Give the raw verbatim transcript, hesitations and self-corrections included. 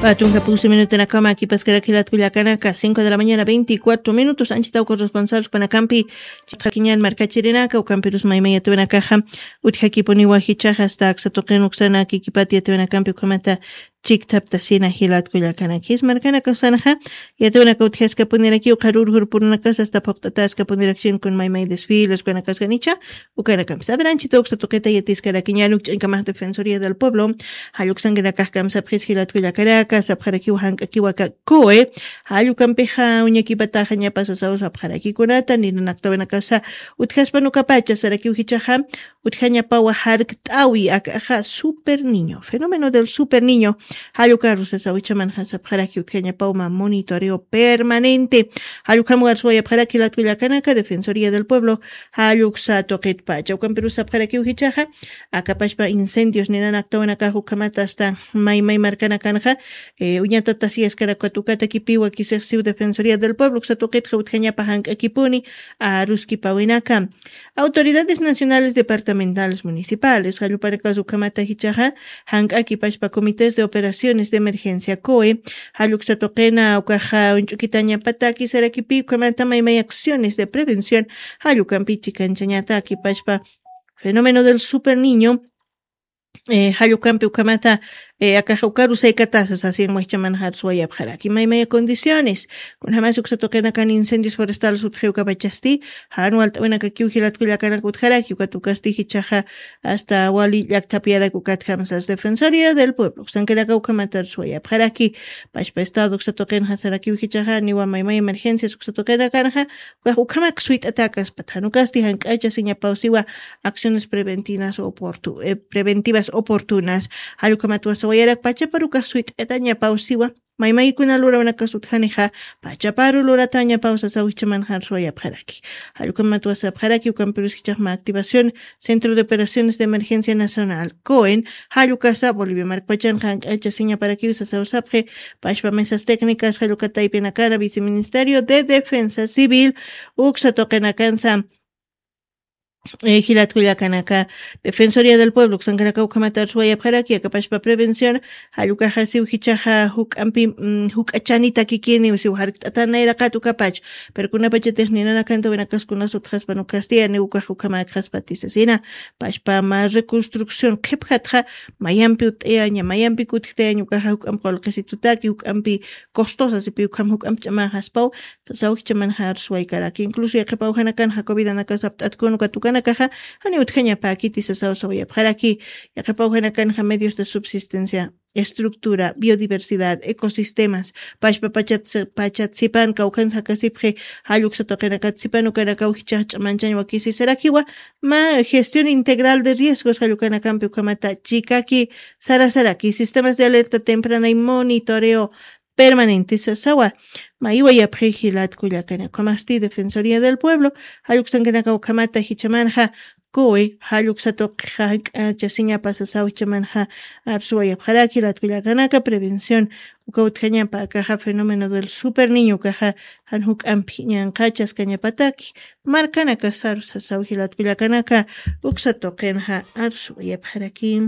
Patunka pusi minutanakama kipaskarak jilat kullakanaka, cinco de la mañana, veinticuatro minutos. Anchita uka responsables panakampi chitqakiñan markachirinaka, ukampirus maymay yatawinakaxa utjakipuniwa jichaxa, hasta aksa tuqin uksana kikipata yatawinakampi ukhamata chiktaptasina jilat kullakanakis markanaka usanxa. Yatawinaka utjaskapunirakiw qharur jurpurunakasa hasta phuqt'ataskapunirakshin kun maymay desfiles ukanakaskanicha. Ukanakampis aderanchita uksa tuqita yatiskarakiñan ukch'ankamax Defensoría del Pueblo jalluksankinakax kamsapxis jilat kullakanaka sapxarakiw jank'akiwaka. Coe jallukampixa uñakipataxa ñapasasaw sapxarakikunata ninanaktawinakasa utjaspanukapacha sarakiw jichaxa utjañapawa jarkt'awi akaxa super niño, fenómeno del super niño. Jallukarusasaw ichamanxa sapxaraki utjañapawma monitoreo permanente. Jallukam warsuwayapxaraki jilat kullakanaka Defensoría del Pueblo jalluksa tuqitpacha ukampirus sapxarakiw jichaxa akapashpa incendios ninanaktawinakax ukhamata hasta maymay markanakanxa uñatatasiyaskarakatukata kipiwa kisixsiw Defensoría del Pueblo uksa tuqitxa utjañapa jank'akipuni aruskipawinaka. Autoridades nacionales departamentales municipales jallupanakas ukhamata jichaxa jank'akipashpa comités de operaciones de emergencia coe jalluksa tuqina ukaxa uñch'ukitañapataki sarakipi ukhamata maymay acciones de prevención jallukampi chikanchañatakipashpa fenómeno del super niño. Jallukampi ukhamata akaxa ukarusaykatasa sasin wajchaman jarsuwayapxaraki maymaya condiciones. Kunjamas uksa tuqinakan incendios forestales utjiwkapachasti jan walt'awinakakiw jilat kullakanaka utjaraki ukatukasti jichaxa hasta wali llaktapiyarak ukatjamsas Defensoría del Pueblo uksankinaka ukhamata jarsuwayapxaraki. Pashpa estado uksa tuqinxa sarakiw jichaxa niwa maymay emergencias uksa tuqinakanxa ukax ukhamak suyt'atakaspat jan ukasti jank'achasiñapawsiwa acciones preventivas oportunas. Jallukhamat wasawayarak pachaparukax suyt'atañapawsiwa maymaykuna lurawnakas utjanixa pachaparu luratañapawsasaw jichaman jarsuwayapxaraki. Jallukhamat wasapxaraki ukampirus jichaxma activación centro de operaciones de emergencia nacional coen jallukasa bolivia markpachanxa jank'achasiñaparakiw sasaw sapxi. Pashpa mesas técnicas jallukataypinakana viceministerio de defensa civil uksa tuqinakansa jilat kullakanaka Defensoría del Pueblo uksankanaka ukhamata arsuwayapxaraki akapashpa prevención. Jallukaxa siw jichaxa juk'ampi juk'achanita kikini siw jarkt'atan nayraqat ukapach. Pero kunapachatix ninanakanta winakaskunas utjaspan ukasti ani ukax ukhamakxaspati sasina. Pashpa ma reconstrucción qhipjatxa mayampi ut'ayaña mayampi kutjtayaña ukaxa juk'ampi qulqisitutaki juk'ampi costosa sipi ukham juk'ampi ch'amaxaspaw. Sasaw jichamanxa arsuwaykaraki incluso yaqhipaw janakanxa covidanakas apt'atkun ukat ukanakaxa jani utjañapäkiti sasaw sawayapxaraki. Yaqhipaw janakanxa medios de subsistencia, estructura, biodiversidad, ecosistemas, pachpa pachat sipan kawkhansa jakasipxi. Jalluksa tuqinakat sipan ukanakaw jichax ch'amanchañ wakisi sarakiwa ma gestión integral de riesgos jallukanakampi ukhamata chikaki sarasaraki sistemas de alerta temprana y monitoreo permanente sasawa. Maywayapxi jilat kullakana ukhamasti defensoría del pueblo jalluksankanaka ukhamata jichamanxa. Coe jalluksatuqxa jank'achasiñapa sasaw jichamanxa. Arsuwayapxaraki jilat kullakanaka prevención uka utjañapa akaxa fenómeno del super niño ukaxa jan juk'ampi ñanqachaskañapataki markanakasaru sasaw jilat kullakanaka. Uksatuqinxa arsuwayapxaraki.